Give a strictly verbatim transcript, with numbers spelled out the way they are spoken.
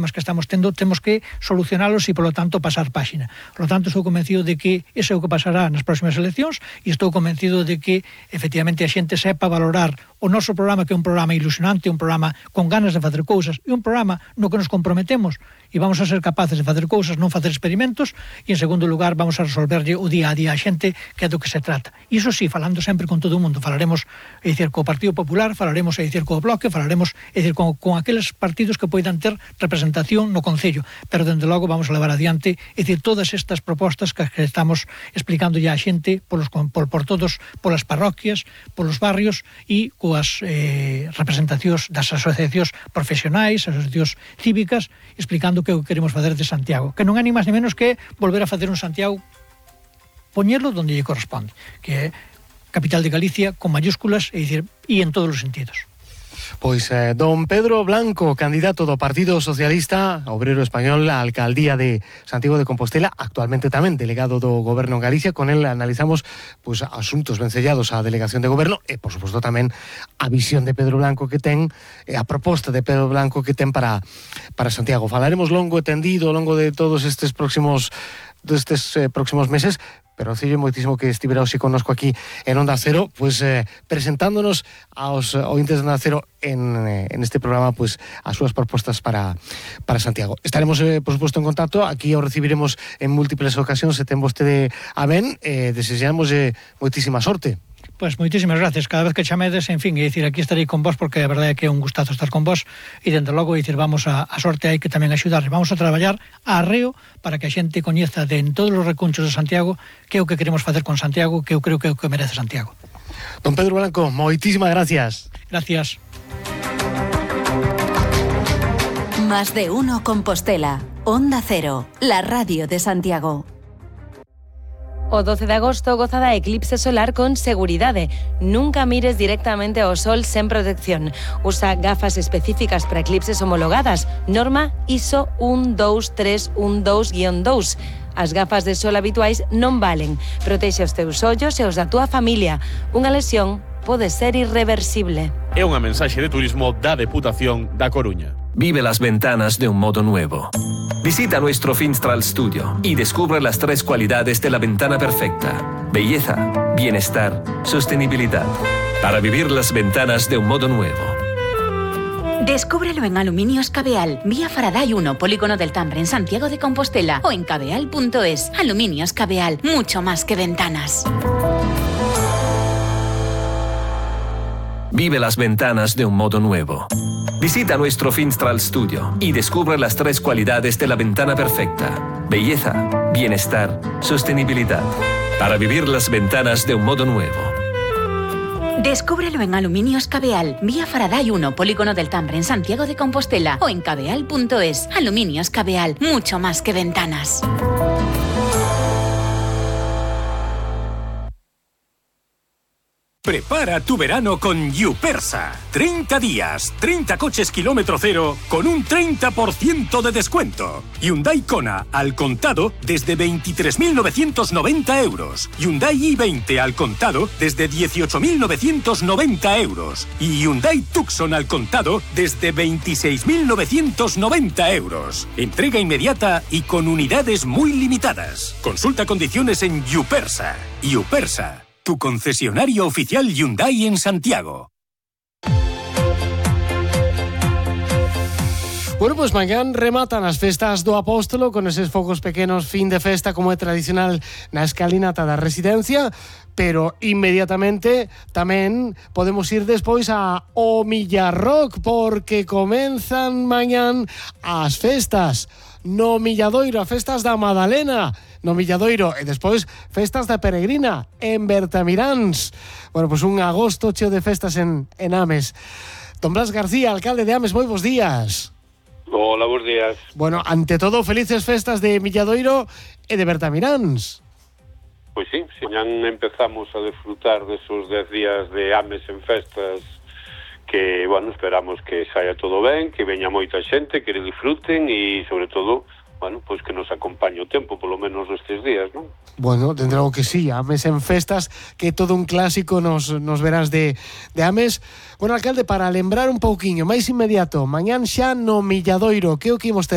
que estamos tendo, temos que solucionalos e, polo tanto, pasar páxina. Por lo tanto, estou convencido de que ese é o que pasará nas próximas eleccións e estou convencido de que, efectivamente, a xente sepa valorar o noso programa, que é un programa ilusionante, un programa con ganas de facer cousas e un programa no que nos comprometemos e vamos a ser capaces de facer cousas, non facer experimentos, e, en segundo lugar, vamos a resolverlle o día a día a xente, que é do que se trata. E iso sí, falando sempre con todo o mundo, falaremos, é dicir, co Partido Popular, falaremos, é dicir, co Bloque, falaremos, é dicir, con, con aqueles partidos que poidan ter representación no Concello, pero, dende logo, vamos a levar adiante, é dicir, todas estas propostas que, que estamos explicando ya a xente polos, por, por todos, polas parroquias, polos barrios e coas eh, representacións das asociacións profesionais, asociacións cívicas, explicando que o que queremos facer de Santiago, que non é ni máis ni menos que volver a facer un Santiago, poñerlo onde lle corresponde, que é capital de Galicia con mayúsculas, e dicir, e en todos os sentidos. Pois eh, don Pedro Blanco, candidato do Partido Socialista Obrero Español á alcaldía de Santiago de Compostela, actualmente tamén delegado do Goberno en Galicia. Con el analizamos pois, asuntos vencellados á delegación de Goberno e, por suposto, tamén a visión de Pedro Blanco que ten, e a proposta de Pedro Blanco que ten para, para Santiago. Falaremos longo e tendido ao longo de todos estes próximos destes eh, próximos meses, pero acello moitísimo que estivera hoxe connosco aquí en Onda Cero, pues eh, presentándonos aos ointes de Onda Cero en, eh, en este programa, pues as súas propostas para, para Santiago. Estaremos, eh, por suposto, en contacto, aquí o recibiremos en múltiples ocasións, se ten vostede a ben, eh, desexamos eh, moitísima sorte. Pois moitísimas gracias, cada vez que chamedes, en fin, é dicir, aquí estarei con vos, porque a verdade é que é un gustazo estar con vos, e dende logo, é dicir, vamos a, a sorte, hai que tamén axudar, vamos a traballar a arreo para que a xente coñeza de en todos os recunchos de Santiago que é o que queremos facer con Santiago, que eu creo que é o que merece Santiago. Don Pedro Blanco, moitísimas gracias. Gracias. Más de uno Compostela, Onda Cero, la radio de Santiago. O doce de agosto goza da eclipse solar con seguridade. Nunca mires directamente ao sol sen protección. Usa gafas específicas para eclipses homologadas. Norma I S O un dous tres un dous guión dous. As gafas de sol habituais non valen. Protexe os teus ollos e os da túa familia. Unha lesión pode ser irreversible. É unha mensaxe de turismo da Deputación da Coruña. Vive las ventanas de un modo nuevo. Visita nuestro Finstral Studio y descubre las tres cualidades de la ventana perfecta: belleza, bienestar, sostenibilidad. Para vivir las ventanas de un modo nuevo. Descúbrelo en Aluminios Cabeal, vía Faraday uno, Polígono del Tambre, en Santiago de Compostela, o en cabeal punto es. Aluminios Cabeal, mucho más que ventanas. Vive las ventanas de un modo nuevo. Visita nuestro Finstral Studio y descubre las tres cualidades de la ventana perfecta: belleza, bienestar, sostenibilidad. Para vivir las ventanas de un modo nuevo. Descúbrelo en Aluminios Cabeal, vía Faraday uno, Polígono del Tambre, en Santiago de Compostela, o en cabeal punto es. Aluminios Cabeal, mucho más que ventanas. Prepara tu verano con Yupersa. treinta días, treinta coches kilómetro cero con un treinta por ciento de descuento. Hyundai Kona al contado desde veintitrés mil novecientos noventa euros. Hyundai i veinte al contado desde dieciocho mil novecientos noventa euros. Y Hyundai Tucson al contado desde veintiséis mil novecientos noventa euros. Entrega inmediata y con unidades muy limitadas. Consulta condiciones en Yupersa. Yupersa, tu concesionario oficial Hyundai en Santiago. Bueno, pues mañán rematan as festas do Apóstolo con eses fogos pequenos, fin de festa como é tradicional na escalinata da residencia, pero inmediatamente tamén podemos ir despois a o Millarrock, porque comenzan mañán as festas no Milladoiro, a festas da Madalena no Milladoiro, e despois festas da Peregrina en Bertamiráns. Bueno, pues un agosto cheo de festas en, en Ames. Don Blas García, alcalde de Ames, moi bons días. Hola, bons días. Bueno, ante todo, felices festas de Milladoiro e de Bertamiráns. Pois sí, señan empezamos a disfrutar desos dez días de Ames en festas, que, bueno, esperamos que saia todo ben, que veña moita xente, que disfruten e, sobre todo, bueno, pois que nos acompañe o tempo, polo menos estes días, non? Bueno, dende logo que sí, Ames en festas, que todo un clásico nos, nos verás de, de Ames. Bueno, alcalde, para lembrar un pouquiño máis inmediato, mañán xa no Milladoiro, que o que imos ter?